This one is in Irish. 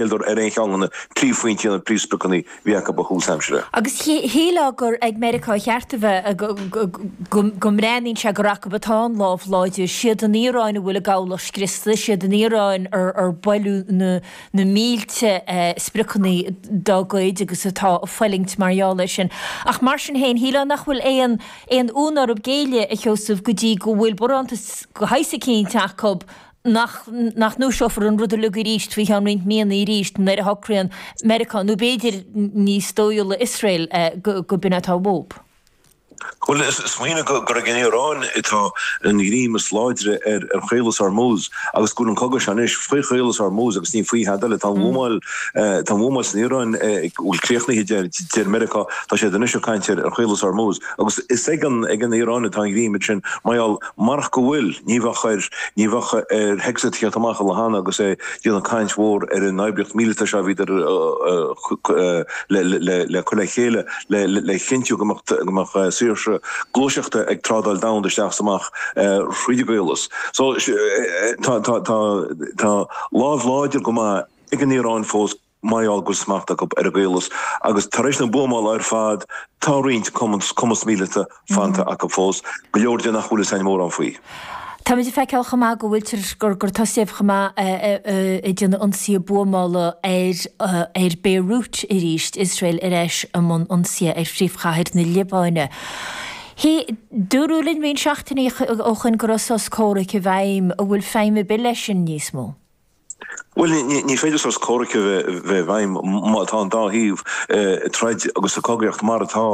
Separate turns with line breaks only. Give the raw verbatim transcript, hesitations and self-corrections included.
Níoldar ar aon cheann de na príomhphointí, na príomhspriocanna a bhí acu ó thús aimsire.
Agus shílfeá gur ag Meiriceá ba cheart a bheith, go mbreathnaíonn sé gur acu atá an lámh láidir. Siad an Iaráin a bhfuil a gcabhlach scriosta, siad an Iaráin ar buaileadh na mílte spriocanna dá gcuid agus atá ag fulaingt mar gheall air sin. Ach mar sin féin, shílfeá nach bhfuil aon aon fhonn orthu géilleadh, a Sheosaimh, go dtí go bhfuil barántas de shaghas eicínt acu nach nach ndúiseofar an rud uilig arís faoi cheann roinnt míonna arís nuair a shocraíonn Meiriceá, nó b'fhéidir níos dóighiúla Iosrael, go b'in atá uathu.
Bhuel, smaoinigh gur ag an Iaráin atá an greim is láidre ar Chaolas Hormuz agus go bhfuil an cogadh seo anois faoi Chaolas Hormuz agus ní faoi thada eile. Tá an bhuamáil tá an bhuamáil san Iaráin bhfuil críochnaithe, deir Meiriceá, tá siad anois ag caint ar Chaolas Hormuz agus is ag an ag an Iaráin atá an greim sin mar gheall marach go bhfuil, ní bheadh ar ní bheadh ar Hegseth theacht amach an lá cheana agus é ag déanamh caint mhór ar an oibríocht mhíleata seo a bhíodar le le cur le chéile le le chinntiú go mbeadh go mbeadh saoirse gluaiseachta ag trádáil domhanda isteach is amach thríd an gcaolas. So tá tá tá tá lámh láidir go maith ag an Iaráin fós mar gheall go bhfuil smacht acu ar an gcaolas agus tar éis na buamála ar fad tá roinnt cumas míleata fanta acu fós, go leor de nach bhfuil fhios againn mórán faoi.
Táimid ag feiceáil chomh maith go bhfuiltear, gur gur tosaíodh chomh maith ag déanamh ionsaithe buamála ar ar Beirut arís, Iosrael ar ais i mbun ionsaithe ar phríomhchathair na Liobáine. Dúradh linn roinnt seachtainí ó shoin go raibh sos comhraic i bhfeidhm, an bhfuil feidhm ar bith leis sin níos mó?
Bhuel, ní féidir sos comhraic a bheith i bhfeidhm má tá an dá thaobh ag troid agus ag cogaíocht mar atá.